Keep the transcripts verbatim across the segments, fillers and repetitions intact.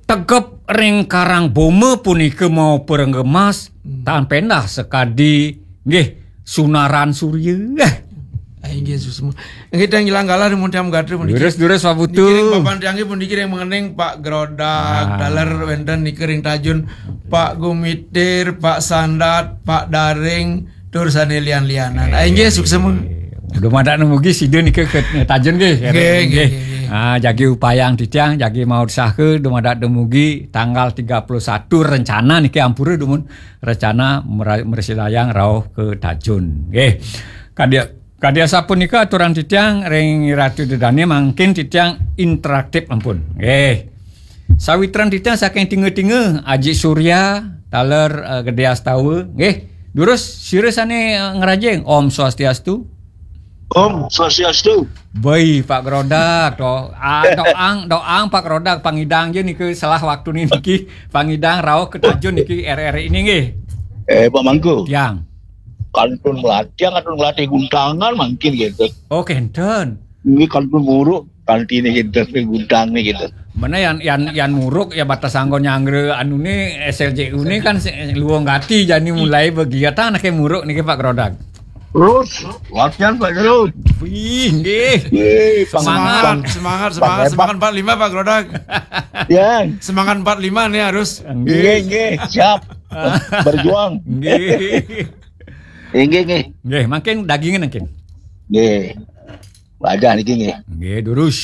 tegep ring Karang Boma punika mau perenggemas, hmm, tan pendah sekadi nggih sunaran surya. Ah, inggih, suksma. Inggih, tiang ilang galah dumun tiang gatra puniki. Durus, durus, Pak Putu. Niki ring papan tiang nggih puniki ring mengening Pak Grodag, ah, taler wenten nika ring Tajun, Pak Gumitir, Pak Sandat, Pak Daring, tur sane lian-lianan. Ah, inggih, suksma. Dumadak dumugi sida nika ke Tajun nggih. Nggih, nggih, nggih, nggih. Ah, jagi upayang titiang, jagi mautsaha dumadak dumugi tanggal tiga puluh satu rencana niki ampura dumun rencana mera-, mrasidayang rauh ke Tajun. Nggih. Kadi, kadi asapunika aturan titiang ring Ratu Dedane mangkin titiang interaktif ampun. Nggih. Sawitran titiang saking Tinga-Tinga, Aji Surya, taler, eh, Gede Astawa. Nggih. Durus sira sane, eh, ngrajing. Om Swastiastu. Om Swastiastu. Baik, Pak Grodag, to. Ah, doang, doang Pak Grodag pangidang je nika selah waktu niki pangidang rauh ke Tajun niki R R I ini nggih. Eh, Pak Mangku. Tiang. Kantun melatih, kantun melatih guntangan mangkin gitu. Oh, kenten. Ini kantun buruk, kanti ini gitu, guntang nih gitu. Mana yang, yang, yang muruk ya batas anggon nyanggra anu nih S L J U nih kan se-, luwung gati jani mulai begiatan kayak muruk nih Pak Grodag. Terus, latihan Pak Gerut. Wih, nggih. Nggih, Semangat, Pang-, semangat, Pang-, semangat, Pang-, semangat empat lima Pak Grodag. Ya. Semangat empat lima nih harus. Nggih, nggih, siap. Berjuang. Nggih. Nggih, nggih. Nggih, makin dagingan makin. Nggih. Wajah niki nggih. Nggih, durus.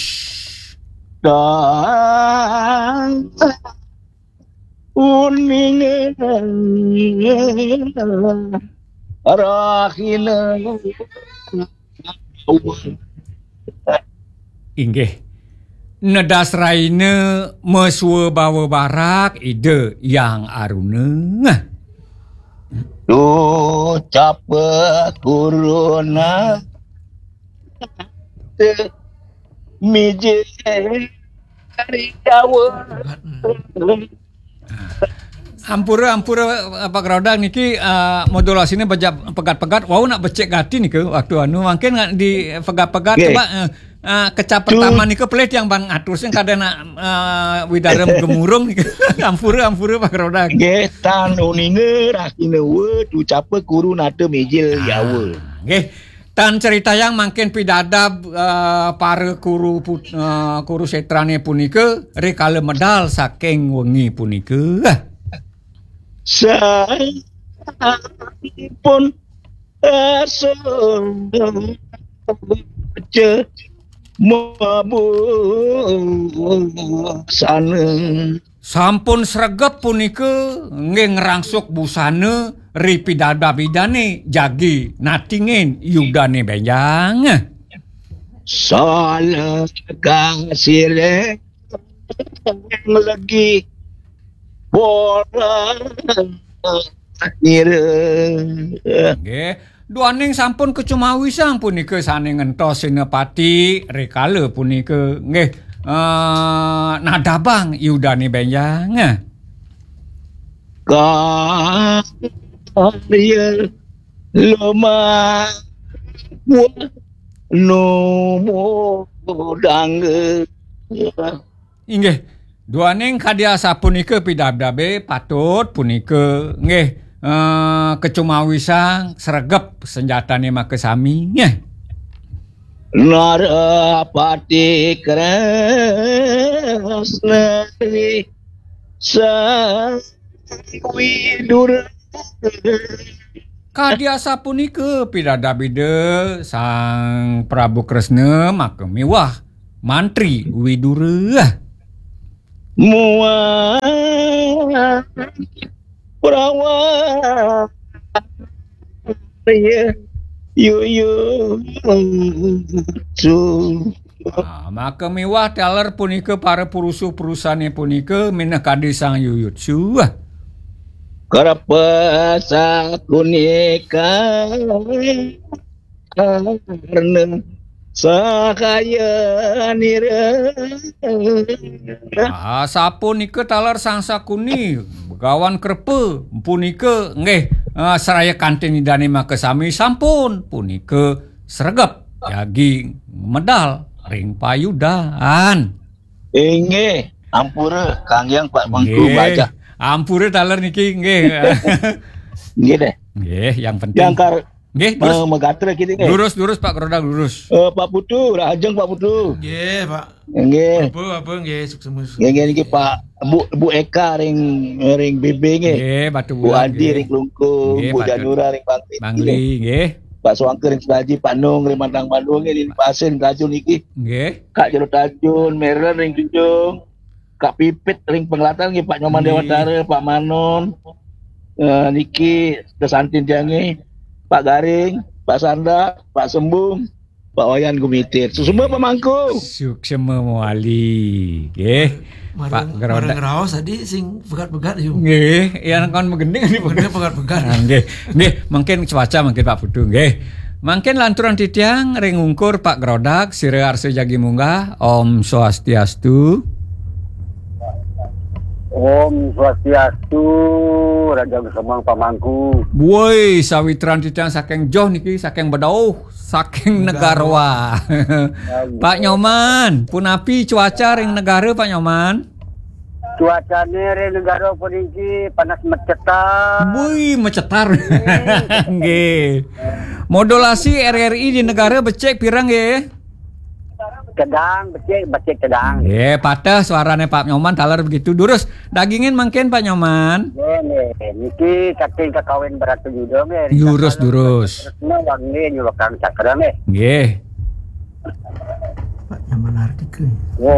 Dan uning rahina. Inggih. Nedas raina meswa bawa barak Ida Yang Aruna. Duh, capa kuruna te mijil dari Jawa. Ampura, ampura, Pak Grodag niki, eh, modulasinya beja-, pegat-pegat, wau nak becik gati nika waktu anu, mungkin nak di pegat-pegat. Nggih. Coba, eh, eh, kecap pertama nika pelih tiang ban ngatur sing kada nak, eh, widara gemurung nika. Ampura, ampura, Pak Grodag. Nggih, tan uninga rahina wa, tu capa kuru nata mijil Jawa. Nggih. Tan critayang mangkin pidabdab, eh, para kuru put-, eh, Kurusetrane punika rikala medal saking wengi punika. Sampun asa maca mabusana. Sampun sregep punika nggih ngrangsuk busana ri pidabdab Idane jagi natingin yudane benjang. Salah kasile legi bola nira. Nggih, duaning sampun kacumawisang punika sane ngentos senapati rikala punika nggih, eh, nadabang yudane benjang. Karya lumawa numudang. Inggih, duaning kadi asapunika pidabdabe patut punika nggih, eh, kacumawisang sregep senjatane makasami nggih. Narapati Kresna Sang Widura. Kadi asapunika pidabdab Ida Sang Prabu Kresna maka miwah Mantri Widura. Muang Prawa Yuyu. Ah, maka miwah taler punika para purusa-purusane punika minakadi Sang Yuyutsu. Karapa sakunika karna sahaya nira. Ah, sapunika taler Sang Sakuni, Begawan Krepa, punika nggih, ah, saraya kantin Idane makasami sampun punika sregep jagi medal ring payudan. Inggih. Ampura, kanggiang Pak Mangku, Mbak Ajah. Ampura taler niki, nggih. Nggih deh. Nggih, yang penting. Yang kar Nggih, terus eh, megatra kita nggih. Lurus, lurus, Pak Gerodak, lurus. Eh, Pak Putu, rahajeng Pak Putu. Nggih, Pak. Nggih. Apa, apa, nggih, sukses. Nggih, nggih niki Pak Bu Bu Eka ring ring B B nggih. Nggih, Batu Bu Bulan, Adi nggih. Ring Klungkung, Nggih, Bu Pak Janura ring Bangli. Bangli, nggih. Pak Suangke ring Selaji, Pak Nung ring Mandang Bandung nggih, ring Pasin Tajun niki. Nggih. Kak Jero Tajun, Meren ring Junjung. Kak Pipit ring Penglatan nggih, Pak Nyoman Nggih. Dewantara, Pak Manon. Eh, niki kesantin tiang nggih. Pak Garing, Pak Sanda, Pak Sembung, Pak Wayan Gumitir. Suksma Pak Mangku. Suksma mawali, nggih. Pak Marang, Gerodak. Marang raos tadi sing pegat-pegat yuk. Nggih, yang kon megending ini Bener pegat-pegat. Ah, nggih. Nggih, mungkin cuaca mungkin Pak Putu, nggih. Mungkin lanturan titiang ring ungkur Pak Gerodak, sira arsa jagi munggah. Om Swastiastu. Om Swastiastu, Raja Semang Pamangku. Woi, sawitran titiang saking joh niki, saking bedauh, saking Negarwa. Pak Nyoman, punapi cuaca ring negara Pak Nyoman? Cuacane ring negara puniki panas mecetar. Woi, mecetar. Nggih. Modulasi R R I di negara becik pirang nggih? Cedang, becik, becik cedang. Nggih, patah suarane Pak Nyoman taler begitu. Durus, dagingin mungkin Pak Nyoman. Nggih, nggih. Niki saking kakawin Bratayuda nggih. Durus, durus. Nah, wangi nyulukang cakra nggih. Nggih. Pak Nyoman Hardika. Wah,